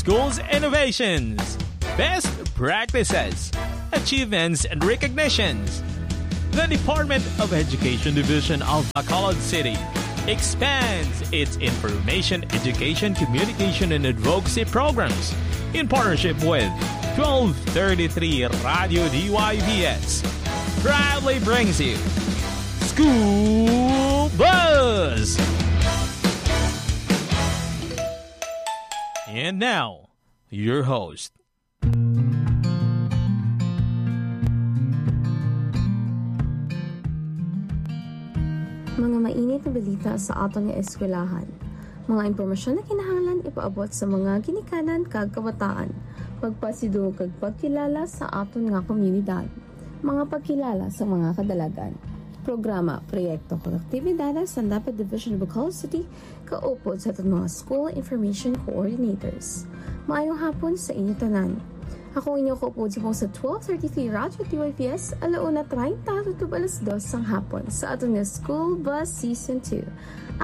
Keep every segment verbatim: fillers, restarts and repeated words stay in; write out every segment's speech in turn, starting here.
Schools innovations, best practices, achievements, and recognitions. The Department of Education Division of Bacolod City expands its information, education, communication, and advocacy programs in partnership with twelve thirty-three Radio D Y V S. Proudly brings you School Buzz! And now, your host. Mga mainit nga balita sa aton nga eskwelahan. Mga impormasyon nga kinahanglan ipaabot sa mga ginikanan kag kabataan. Pagpasidungog kag pagkilala sa aton nga komunidad. Mga pagkilala sa mga kadalagan. Programa, proyekto, kag aktibidades sang DepEd Division of Bacolod City kaupod sa aton mga school information coordinators. Maayong hapon sa inyo tanan. Ako ang inyo kaupod subong sa twelve thirty-three Radyo T Y V S, alauna treinta tutob alas dos sang hapon sa aton nga School Bus Season two.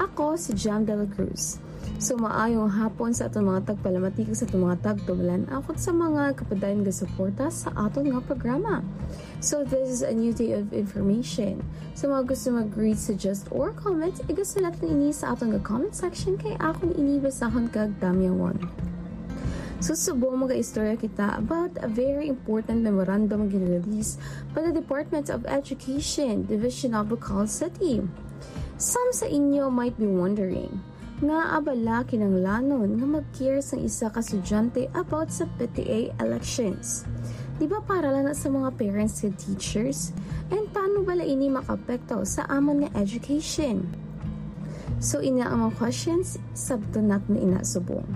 Ako si Jam Dela Cruz. So, maayong hapon sa aton mga tagpalamati kag sa aton mga tagtumalan-aw kag sa mga kapadayon nga suporta sa aton nga programa. So, this is a new day of information. Sa mga gusto mag-greet, suggest, or comment, igasulat lang ini sa aton nga comment section kay akon ini basahon kag damyangon. So, subong mag-istorya kita about a very important memorandum nga gin-release by the Department of Education, Division of Bacolod City. Some sa inyo might be wondering, ngaa bala kinahanglanon nga mag-care sang isa ka estudyante about sa P T A elections? Di ba para lang na sa mga parents and teachers? And paano bala ini makaapekto sa amon nga education? So, ina ang mga questions, sabton naton ina subong.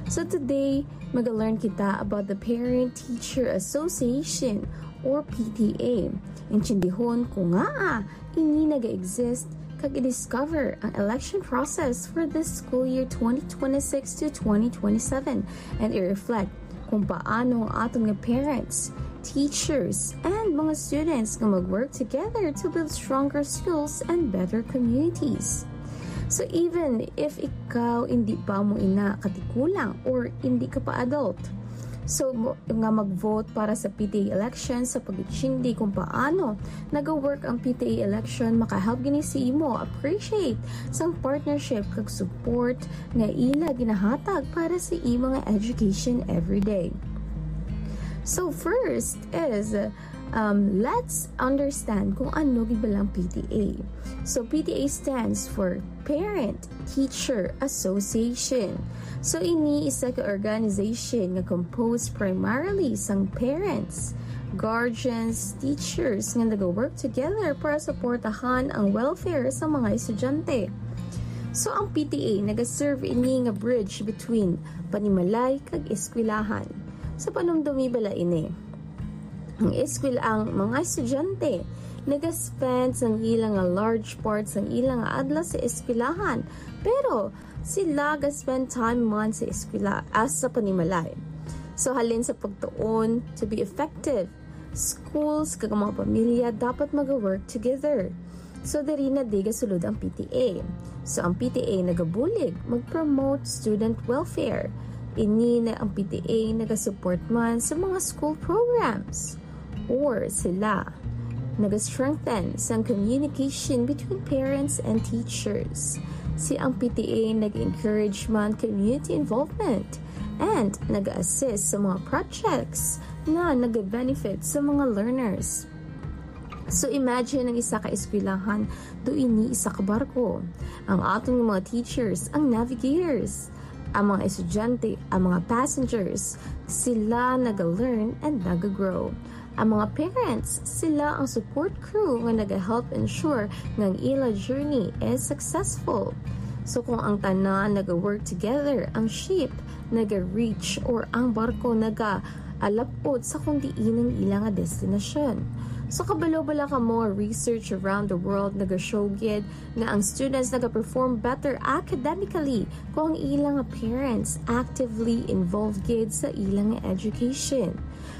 So, today, maga-learn kita about the Parent Teacher Association or P T A. Intindihon kung ngaa ini naga-exist kag i-discover ang election process for this school year twenty twenty-six to twenty twenty-seven and i-reflect kung paano ang aton nga parents, teachers, and mga students nga mag-work together to build stronger schools and better communities. So even if ikaw hindi pa mo ina katigulang or hindi ka pa adult, so mo- nga mag-vote para sa P T A election sa pag-intindi kung paano naga-work ang P T A election, makahelp gini sa imo appreciate sang partnership kag support nga ila ginahatag para sa imo nga education everyday. So first is, um, let's understand kung ano gid ba lang P T A. So P T A stands for Parent Teacher Association. So ini isa ka organization nga composed primarily sang parents, guardians, teachers nga naga-work together para suportahan ang welfare sa mga estudyante. So ang P T A naga-serve ini nga bridge between panimalay kag eskwelahan. So panumdumi bala ini. Ang eskwel ang mga estudyante naga-spend sang ila nga large part sang ila nga adlaw sa eskwelahan, pero sila ga-spend time man sa eskwela as sa panimalay. So halin sa pagtuon, to be effective, schools kag ang mga pamilya dapat mag-work together. So diri na di gasulod ang P T A. So ang P T A nagabulig mag-promote student welfare. Ini na ang P T A nagasupport man sa mga school programs. Or sila nag-strengthen sang communication between parents and teachers. Si ang P T A nag-encourage man community involvement and nag-assist sa mga projects nga nag-benefit sa mga learners. So imagine ang isa ka eskwelahan, do ini isa ka barko. Ang aton nga mga teachers, ang navigators. Ang mga estudyante, ang mga passengers, sila naga-learn and naga-grow. Ang mga parents, sila ang support crew nga naga-help ensure nga ang ila journey is successful. So kung ang tanan naga-work together, ang ship naga-reach or ang barko naga-alapot sa kung diin ang ila nga destinasyon. So, kabalo bala kamo, research around the world naga-show gid nga ang students naga-perform better academically kung ang ilang parents actively involved gid sa ilang education.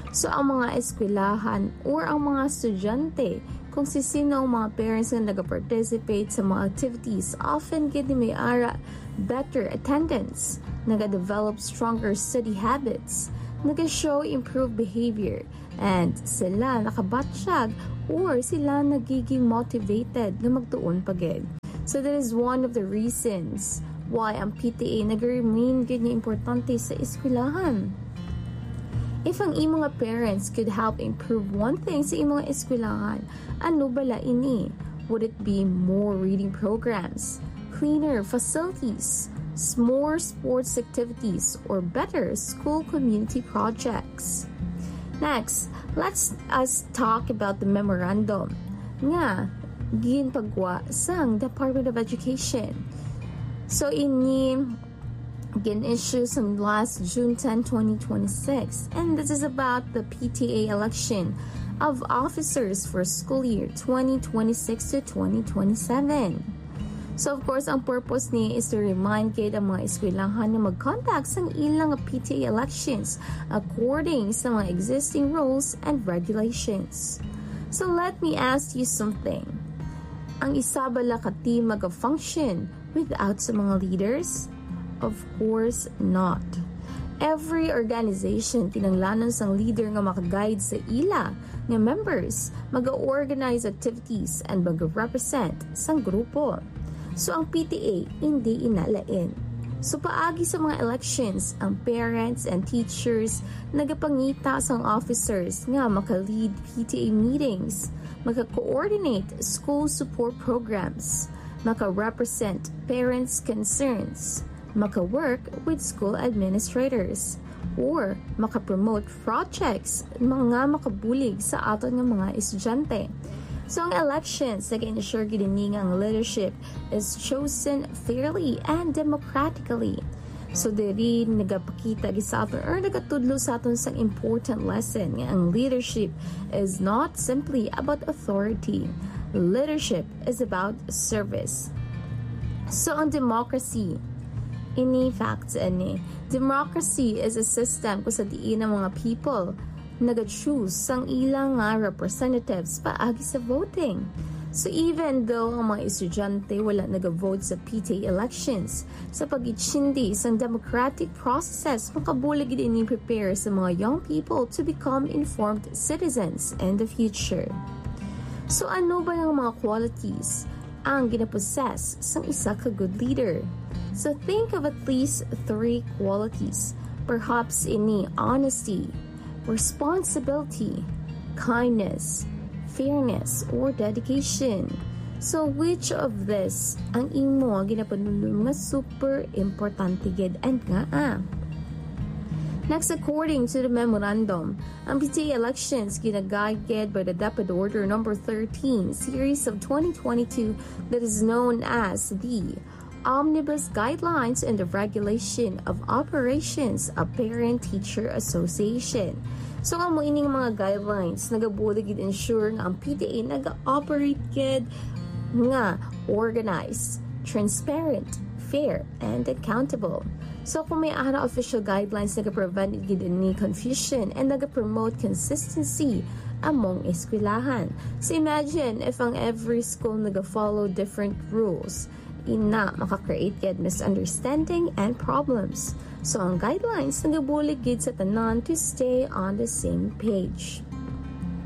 So, ang mga eskwelahan or ang mga estudyante, kung sisino ang mga parents nga naga-participate sa mga activities, often gid ni may ara better attendance, naga-develop stronger study habits, naga-show improved behavior, and sila nakabatyag or sila nagiging motivated nga magtuon pa gid. So that is one of the reasons why ang P T A nag-remain gid nga importante sa eskwelahan. If ang imo nga parents could help improve one thing sa imo nga eskwelahan, ano bala ini? Would it be more reading programs, cleaner facilities, s- more sports activities, or better school community projects? Next, let's us talk about the memorandum nga ginpagwa sang Department of Education. So, ini gin-issue sang last June ten, twenty twenty-six, and this is about the P T A election of officers for school year twenty twenty-six to twenty twenty-seven. So, of course, ang purpose ni is to remind gid ang mga eskwelahan na mag-conduct sang ilang P T A elections according sa mga existing rules and regulations. So, let me ask you something. Ang isa bala ka team maga-function without sa mga leaders? Of course not. Every organization kinahanglanon sang leader nga maka-guide sa ila nga members, maga-organize activities, and maga-represent sang grupo. So, ang P T A hindi ina lain. So, paagi sa mga elections, ang parents and teachers nagapangita sang officers nga maka-lead P T A meetings, maka-coordinate school support programs, maka-represent parents' concerns, maka-work with school administrators, or maka-promote projects nga makabulig sa aton nga mga estudyante. So, ang elections nag-ensure gid ini nga ang leadership is chosen fairly and democratically. So, diri nagapakita gid sa aton or nagatudlo sa aton sang important lesson nga ang leadership is not simply about authority. Leadership is about service. So, ang democracy, ini facts ini. Democracy is a system kung sa diin ang mga people naga-choose sang ila nga representatives paagi sa voting. So, even though ang mga estudyante wala naga-vote sa P T A elections, sa pag-itindi sang democratic processes, makabulig gid ini prepare sa mga young people to become informed citizens in the future. So, ano ba ang mga qualities ang ginapossess sang isa ka good leader? So, think of at least three qualities. Perhaps ini honesty, responsibility, kindness, fairness, or dedication. So, which of this ang imo nga ginapanulod nga super importante gid and ngaa? Next, according to the memorandum, ang P T A elections ginaguided by the DepEd Order number thirteen, series of twenty twenty-two, that is known as the Omnibus Guidelines and the Regulation of Operations of Parent Teacher Association. So, amo ining mga guidelines nagabulig gid ensure nga ang P T A naga-operate gid nga organized, transparent, fair, and accountable. So, kung may ara official guidelines, nagaprevent gid ini confusion and nagapromote consistency among eskwelahan. So, imagine if ang every school naga-follow different rules. Ina, maka-create gid misunderstanding and problems. So, ang guidelines nagabulig gid sa tanan to stay on the same page.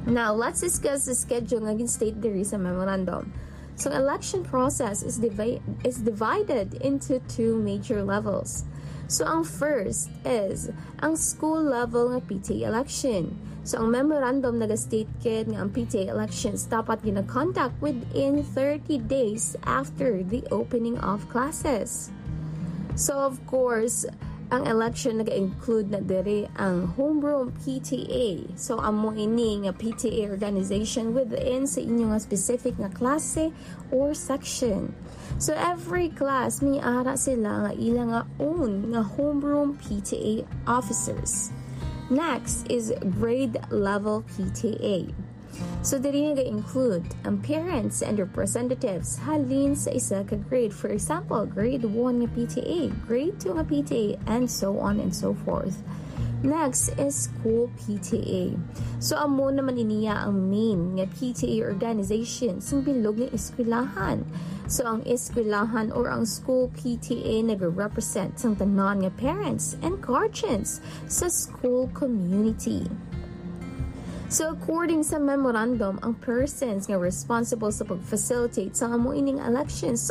Now, let's discuss the schedule nga gin-state diri sa memorandum. So, election process is divi-, is divided into two major levels. So, ang first is ang school level nga P T A election. So, ang memorandum naga-state gid nga ang P T A elections dapat gina-conduct within thirty days after the opening of classes. So, of course, ang election naga-include na diri ang homeroom P T A. So, amo ini nga P T A organization within sa inyo nga specific nga klase or section. So, every class may ara sila nga ila nga own nga homeroom P T A officers. Next is grade level P T A. So diri nga ga-include ang parents and representatives halin sa isa ka grade. For example, grade one nga P T A, grade two nga P T A, and so on and so forth. Next is school P T A. So amo naman iniya ang main nga P T A organization sang bilog nga eskwelahan. So ang eskwelahan or ang school P T A nag-represent sang tanan nga parents and guardians sa school community. So according sa memorandum, ang persons nga responsible sa pag-facilitate sa amo ining elections